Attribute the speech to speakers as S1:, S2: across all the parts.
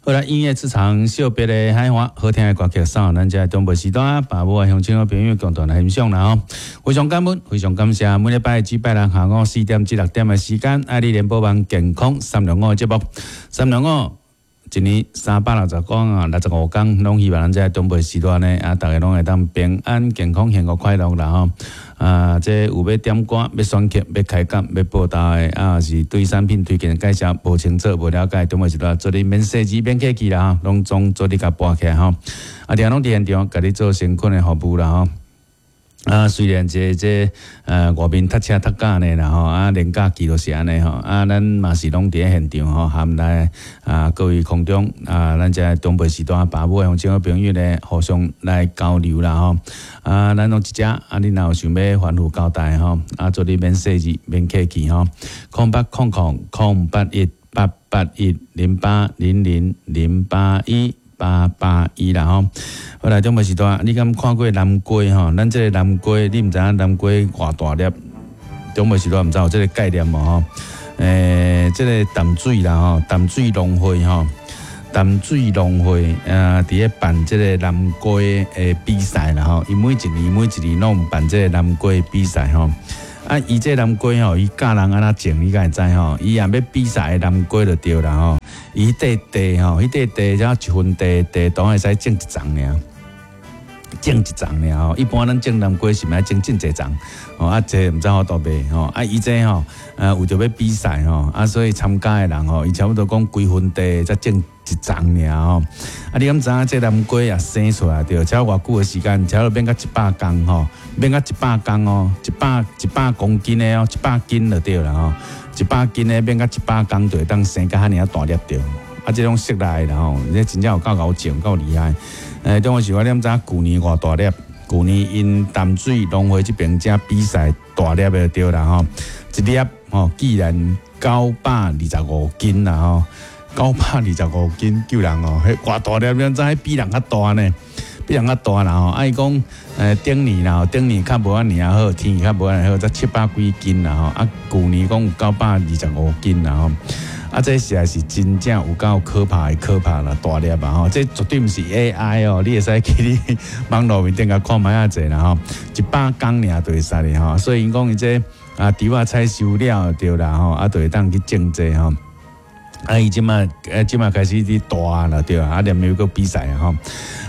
S1: 好啦，音樂之場惜別的海岸，好聽的歌曲送予咱遮長輩時段，爸母啊鄉親好朋友共同來欣賞啦吼。非常感恩，非常感謝，每禮拜至拜六下午4點至6點的時間，愛你聯播網健康三六五的節目，三六五。一年360天啊，65天，攏希望咱遮長輩時段呢，啊，逐家攏會當平安、健康、幸福、快樂啦吼。啊，這有欲點歌、欲選曲、欲開講、欲報道的，啊，是對產品推薦介紹無清楚、無了解，長輩時段做你免細緻、免客氣啦吼，攏總做你共撥起來吼。啊，定攏佇現場，共你做誠懇的服務啦吼。啊，雖然這外面塞車塞甲按呢啦吼，啊，連假期都是按呢吼，啊，咱嘛是攏佇咧現場吼，含來啊各位空中啊，咱遮長輩時段爸母鄉親好朋友咧，互相來交流啦吼。啊，咱攏一隻，啊，你若有想欲吩咐交代吼，啊，做你免細緻，免客氣吼，0800 008 1 881 0800 081 881啦吼。好來，長輩時段，你敢看過南瓜吼？咱這個南瓜，你毋知影南瓜偌大粒？長輩時段毋知有這個概念無吼？這個淡水啦吼，淡水農會吼，淡水農會佇咧辦這個南瓜的比賽啦吼。伊每一年每一年攏有辦這個南瓜比賽吼。啊，伊這南瓜吼，伊教人按怎種，你敢會知吼？伊若欲比賽的南瓜就對啦吼。伊塊地吼，彼塊地才一分地，地當會使種一叢爾，種一叢爾吼。一般咱種南瓜是毋愛種真濟叢，吼啊，這毋知好多賣吼。啊，伊這吼，為著欲比賽吼，啊，所以參加的人吼，伊差不多講幾分地才種一叢爾吼。啊，你敢知影這南瓜啊生出來著，才偌久的時間，差不多變甲100公吼，變甲一百公哦，100公斤的哦，100斤就對啦吼。100斤的變甲一百公就會當生甲遐爾仔大粒著。啊，這種室內啦吼，這真正有夠𠢕種，夠厲害。中國是我你敢知影舊年偌大粒？舊年𪜶淡水農會這邊遮比賽大粒的對啦吼，一粒吼竟然925斤啦吼，925斤救人哦，彼偌大粒，你知彼比人較大呢？比人較大啦吼。啊，伊講，頂年啦，頂年較無按呢好，天氣較無按呢好，才700幾斤啦吼。啊，舊年講有925斤啦吼。啊，這實在是真正有夠可怕的可怕啦，大粒啊吼！這絕對毋是 AI 哦，你會使去你網路面頂共看覓仔濟啦吼，100公爾就會使哩吼。所以𪜶講伊這啊，稻仔採收了對啦吼，啊，就會當去種這吼。啊，伊這馬這馬開始佇大啦對啊，啊，連又閣比賽啊吼。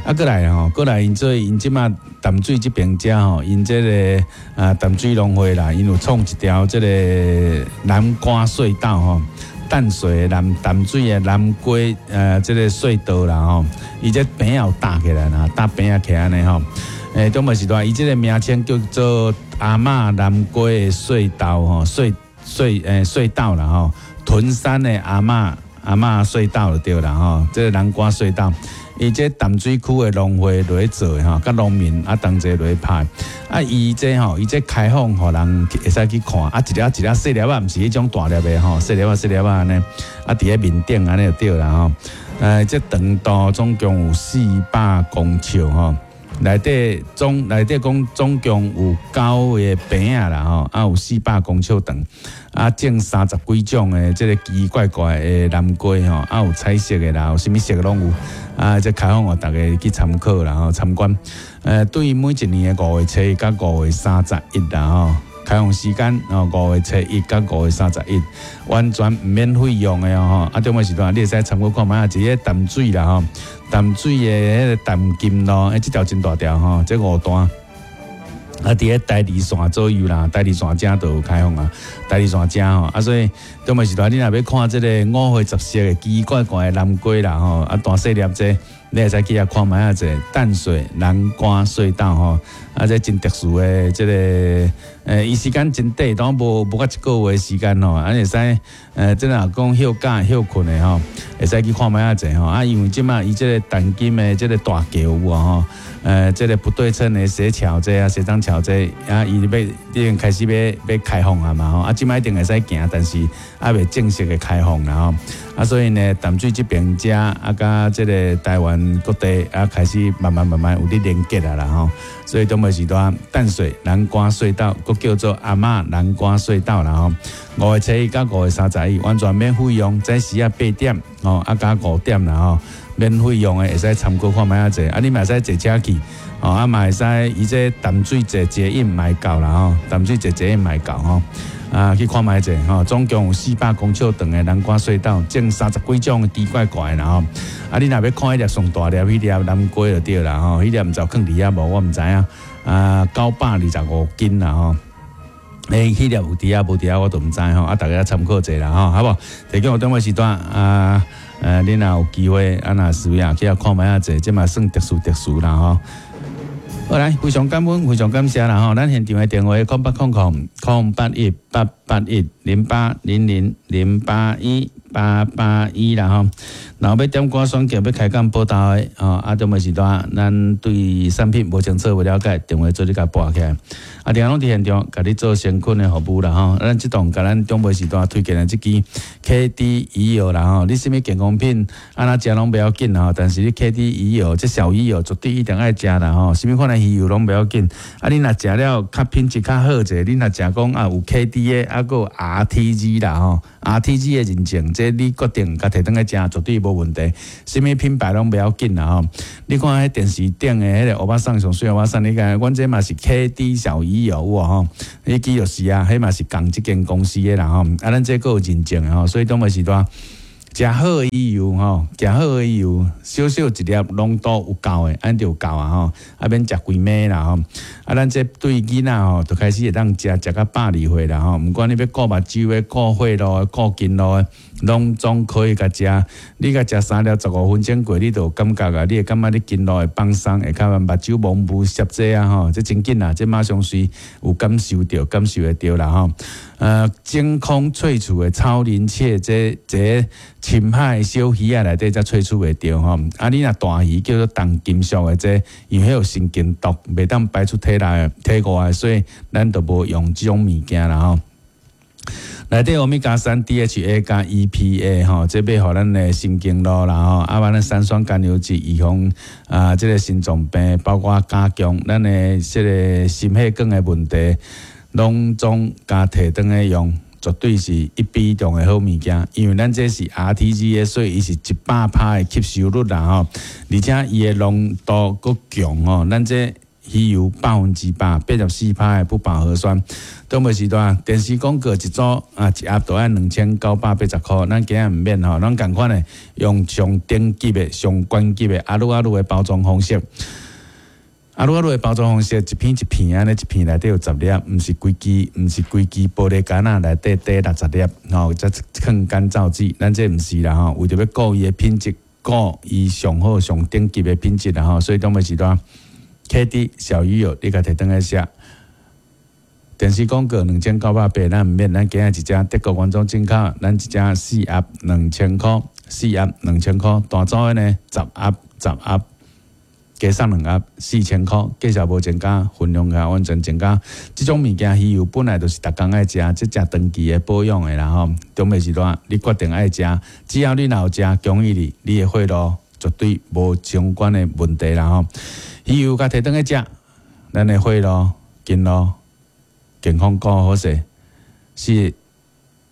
S1: 啊，閣來吼，閣來𪜶做𪜶這馬淡水這邊遮吼，𪜶這個啊淡水農會啦，𪜶有創一條這個南瓜隧道吼。淡水的南淡水的南瓜，這個隧道啦吼，伊這棚仔有搭起來啦，搭棚仔起來按呢吼。中無時代，伊這個名稱叫做阿嬤南瓜的隧道吼，隧道啦吼，屯山的阿嬤隧道就對啦吼，這個南瓜隧道。伊這淡水區的農會落去做的吼，佮農民啊同齊落去拍。啊，伊這吼，伊這開放予人會使去看。啊，一粒一粒細粒仔，毋是彼種大粒的吼，細粒仔細粒仔按呢。啊，佇咧面頂按呢就對啦吼。這長度總共有400公尺吼，內底總內底講總共有九個棚仔啦吼，啊有400公尺長，啊種30幾種的這個奇奇怪怪的南瓜吼，啊有彩色的啦，有啥物色攏有，啊這開放予大家去參考啦吼，參觀。對每一年的5月初一佮5月31啦吼，開放時間哦，5月初一佮5月31，完全毋免費用的哦吼。啊，中尾時段你會使參考看覓仔，一個淡水啦吼，淡水的彼個淡金路，欸，這條真大條吼，這五段。啊，佇咧台二線左右啦，台二線遮都有開放啊，台二線遮吼，啊，所以中尾時段你若欲看這個五花十色的奇奇怪怪的南瓜啦吼，啊，大細粒這，你會使去遐看覓仔者淡水南瓜隧道吼，啊，這真特殊的這個，伊時間真短，當無無到一個月時間吼，啊，會使，這若講歇假歇睏的吼，會使去看覓仔者吼，啊，因為這馬伊這個淡金的這個大橋有無吼，這個不對稱的斜橋這啊，斜張橋這啊，伊欲已經開始欲開放啊嘛吼，啊，這馬一定會使行，但是猶未正式的開放啦吼，啊，所以呢，淡水這邊遮啊，佮這個台灣。灣各地啊，開始慢慢慢慢有咧連結啊啦吼。所以中尾時段淡水南瓜隧道，閣叫做阿嬤南瓜隧道啦吼。5月初1到5月31，完全免費用，早時啊8點吼，啊加5點啦吼，免費用的會使參考看覓仔者，啊你嘛會使坐車去，吼啊嘛會使伊這淡水坐捷運嘛會到啦吼，淡水坐捷運嘛會到吼。啊，去看覓者吼，總共有400公尺長的南瓜隧道，種30幾種的奇怪怪的啦吼。啊，你若欲看彼粒上大粒彼粒南瓜就對啦吼，彼粒毋知有囥佇遐無，我毋知影。啊，925斤啦吼。欸，彼粒有佇遐無佇遐，我都毋知吼。啊，大家參考者啦吼，好無？提供中尾時段啊，恁若有機會啊，若需要去遐看覓仔者，這嘛算特殊特殊啦吼。好來，非常感恩，非常感謝啦吼！咱現場的電話0800 008 1810 080081881啦吼。若欲點歌選曲，欲開講報道的吼，啊，中尾時段咱對產品無清楚、無了解，電話做你共撥起來。啊，定攏佇現場，共你做誠懇的服務啦吼。咱這檔共咱中尾時段推薦的這支 KD 魚油啦吼，你啥物健康品按怎食攏袂要緊吼，但是你 KD 魚油，這小魚油絕對一定愛食啦吼。啥物款的魚油攏袂要緊，啊，你若食了較品質較好者，你若食講啊有 KD 的，啊閣有 RTG 啦吼，RTG 的認證，這你決定共提轉來食，絕對無問題。啥物品牌攏袂要緊啦吼。你看彼電視頂的彼個歐巴桑上媠歐巴桑，你看阮這嘛是 KD 小魚油有無吼？彼支就是啊，彼嘛是仝這間公司的啦吼。啊，咱這閣有認證的吼，所以當尾時段食好的魚油吼，食好的魚油，小小一粒濃度有夠的，按就有夠啊吼。啊，免食規暝啦吼。啊，咱這對囡仔吼，就開始會當食食到120歲啦吼。毋管你欲顧目睭的、顧血路的、顧筋路的，攏總可以共食。你共食3粒15分鐘過，你就有感覺啊，你會感覺你筋路會放鬆，會較目睭模糊濕這啊吼，這真緊啊，這馬上隨有感受著，感受會著啦吼。真空萃取的超臨界這這深海小魚仔內底才萃取會著吼。啊，你若大魚叫做重金屬的這，因為彼有神經毒，袂當排出體內體外，所以咱就無用這種物件啦吼。內底歐米伽三 DHA 佮 EPA 吼，這欲予咱的神經路啦吼，啊，咱三酸甘油酯預防啊，這個心臟病，包括加強咱的這個心血管的問題，攏總共提轉來用，絕對是一比中的好物件。因為咱這是 RTG 的，所以伊是100%的吸收率啦吼，而且伊的濃度閣強吼，咱這魚油184%的不飽和酸。中尾時段電視廣告一組啊，一盒都愛2980塊，咱今仔毋免吼，咱仝款的用上頂級的、上懸級的阿魯阿魯的包裝方式。阿魯阿魯的包裝方式，一片一片按呢，一片內底有十粒，毋是規支，毋是規支玻璃桿仔內底底60粒，吼，才囥乾燥劑。咱這毋是啦吼，為著欲顧伊的品質，顧伊上好上頂級的品質啦吼，所以中尾時段 KD 小魚油，你共提轉來食。電視廣告2980，咱毋免，咱今仔一隻德國原裝進口，咱一隻四盒2000塊，四盒兩千塊，大組的呢十盒十盒，加送兩盒4000塊，價數無增加，分量也完全增加。這種物件魚油本來就是逐工愛食，這食長期的保養的啦吼。中尾時段你決定愛食，只要你若有食，恭喜你，你的血路絕對無相關的問題啦吼。魚油共提轉來食，咱的血路、筋路健康顧好勢，四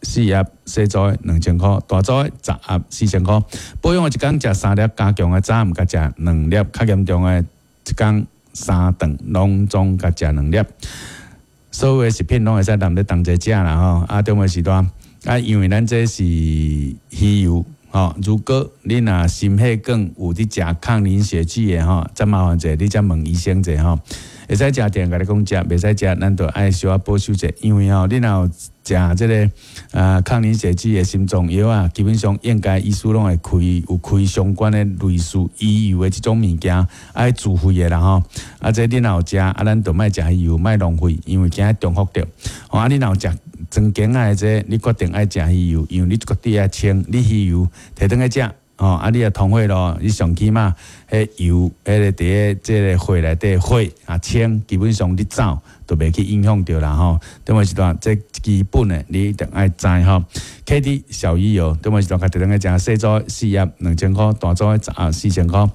S1: 四盒細組的2000塊，大組的十盒4000塊。保養的一工食三粒，加強的早暗共食兩粒，較嚴重的一工三頓攏總共食兩粒。所有的食品攏會使含咧同齊食啦吼。啊，中尾時段啊，因為咱這是魚油吼，如果你若心血管有佇食抗凝血劑的吼，再麻煩者，你再問醫生者吼。會使食定共你講食，袂使食，咱就愛小可保守者，因為吼，你若有食這個啊抗凝血劑的心臟藥啊，基本上應該醫師攏會開有開相關的類似魚油的這種物件，愛自費的啦吼。啊，這你若有食，啊，咱就莫食魚油，莫浪費，因為驚重複著。吼，啊，你若有食專間仔的這，你決定愛食魚油，因為你絕對愛清，你魚油提轉來食。吼，啊，你若通血路，你上起碼彼油，彼个佇咧這个血內底血啊清，基本上你走都袂去影響著啦吼。中午時段，這基本的你一定愛知吼。KD 小魚油，中午時段較特別食細組四盒2000箍，大組的10盒4000箍。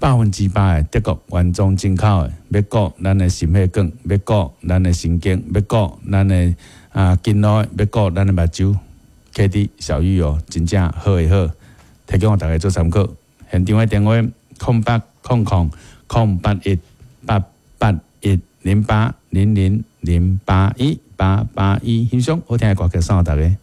S1: 100%的德國原裝進口的，欲顧咱的心血管，欲顧咱的神經，欲顧咱的啊筋腦，欲顧咱的目睭。KD 小魚油真正好的好，提供予大家做參考。現場的電話：0800 081 8810800 081 881，欣賞好聽的歌曲送予大家。